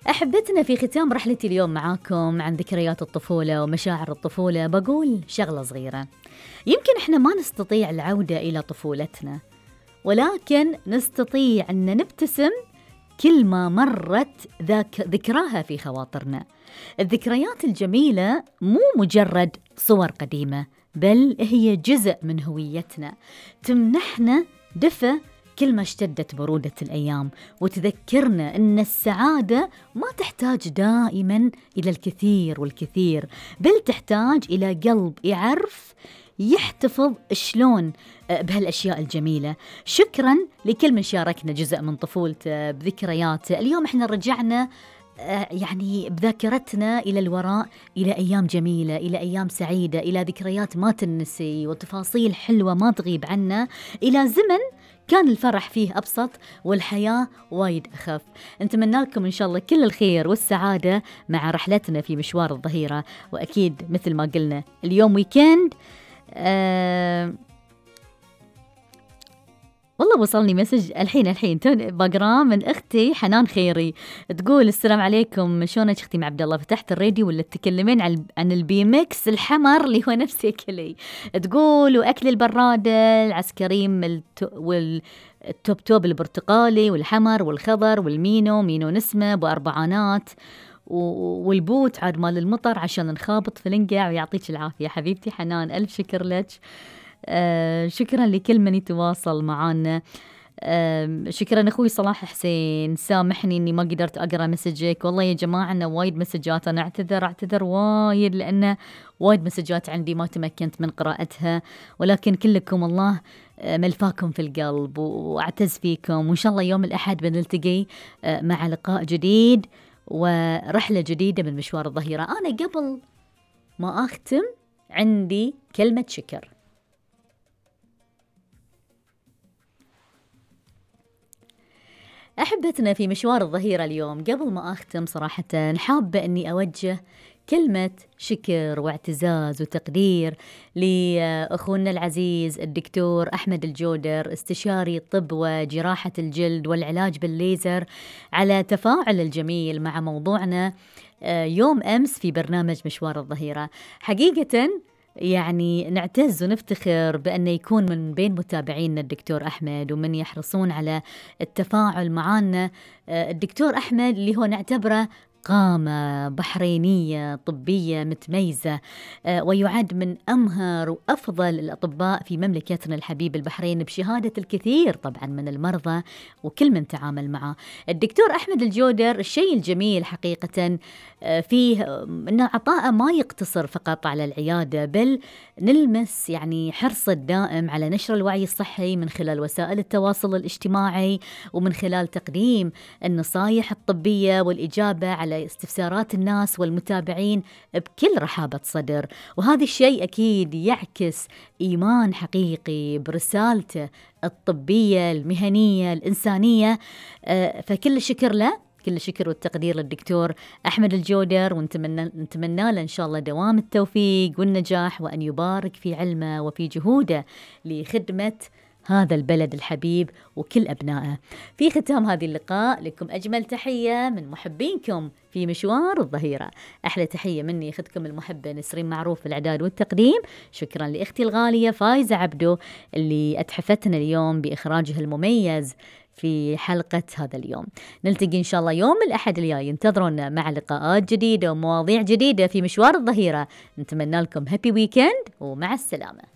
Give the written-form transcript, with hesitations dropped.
أحبتنا، في ختام رحلتي اليوم معاكم عن ذكريات الطفولة ومشاعر الطفولة بقول شغلة صغيرة. يمكن إحنا ما نستطيع العودة إلى طفولتنا، ولكن نستطيع أن نبتسم كل ما مرت ذكراها في خواطرنا. الذكريات الجميلة مو مجرد صور قديمة، بل هي جزء من هويتنا، تمنحنا دفء كل ما اشتدت برودة الأيام، وتذكرنا أن السعادة ما تحتاج دائما إلى الكثير والكثير، بل تحتاج إلى قلب يعرف يحتفظ شلون بهالأشياء الجميلة. شكرا لكل من شاركنا جزء من طفولته بذكرياته. اليوم احنا رجعنا يعني بذاكرتنا إلى الوراء، إلى أيام جميلة، إلى أيام سعيدة، إلى ذكريات ما تنسي وتفاصيل حلوة ما تغيب عنا، إلى زمن كان الفرح فيه أبسط والحياة وايد أخف. نتمنى لكم إن شاء الله كل الخير والسعادة مع رحلتنا في مشوار الظهيرة. وأكيد مثل ما قلنا اليوم ويكند. والله وصلني مسج الحين بقرا من أختي حنان خيري، تقول السلام عليكم، شلونك أختي مع عبد الله؟ فتحت الراديو ولا تتكلمين عن البي ميكس الحمر اللي هو نفس أكلي؟ تقول وأكل البرادة العسكريم والتوب البرتقالي والحمر والخضر والمينو نسمة بأربعانات، والبوت عاد مال المطر عشان نخابط في الانقع. ويعطيك العافية حبيبتي حنان، ألف شكر لك. شكرا لكل من يتواصل معنا. شكرا أخوي صلاح حسين، سامحني أني ما قدرت أقرأ مسجك. والله يا جماعة أنا وايد مسجات، أنا أعتذر وايد، لأن وايد مسجات عندي ما تمكنت من قراءتها، ولكن كلكم الله ملفاكم في القلب وأعتز فيكم. وإن شاء الله يوم الأحد بنلتقي مع لقاء جديد ورحلة جديدة من مشوار الظهيرة. أنا قبل ما أختم عندي كلمة شكر. أحبتنا، في مشوار الظهيرة اليوم قبل ما أختم صراحة حابة أني أوجه كلمة شكر واعتزاز وتقدير لأخونا العزيز الدكتور أحمد الجودر، استشاري طب وجراحة الجلد والعلاج بالليزر، على تفاعل الجميل مع موضوعنا يوم أمس في برنامج مشوار الظهيرة. حقيقة يعني نعتز ونفتخر بأن يكون من بين متابعينا الدكتور أحمد ومن يحرصون على التفاعل معنا. الدكتور أحمد اللي هو نعتبره قامة بحرينية طبية متميزة، ويعد من أمهر وأفضل الأطباء في مملكتنا الحبيب البحرين، بشهادة الكثير طبعا من المرضى وكل من تعامل معه. الدكتور أحمد الجودر الشيء الجميل حقيقة فيه أن عطاءه ما يقتصر فقط على العيادة، بل نلمس يعني حرص الدائم على نشر الوعي الصحي من خلال وسائل التواصل الاجتماعي، ومن خلال تقديم النصائح الطبية والإجابة على استفسارات الناس والمتابعين بكل رحابة صدر. وهذا الشيء أكيد يعكس إيمان حقيقي برسالته الطبية المهنية الإنسانية. فكل الشكر له، كل الشكر والتقدير للدكتور أحمد الجودر، ونتمنى له إن شاء الله دوام التوفيق والنجاح، وأن يبارك في علمه وفي جهوده لخدمة هذا البلد الحبيب وكل أبنائه. في ختام هذه اللقاء لكم أجمل تحية من محبينكم في مشوار الظهيرة. أحلى تحية مني أختكم المحبة نسرين معروف في الإعداد والتقديم. شكرا لأختي الغالية فايزة عبدو اللي أتحفتنا اليوم بإخراجها المميز في حلقة هذا اليوم. نلتقي إن شاء الله يوم الأحد الجاي، انتظرونا مع لقاءات جديدة ومواضيع جديدة في مشوار الظهيرة. نتمنى لكم هابي ويكند ومع السلامة.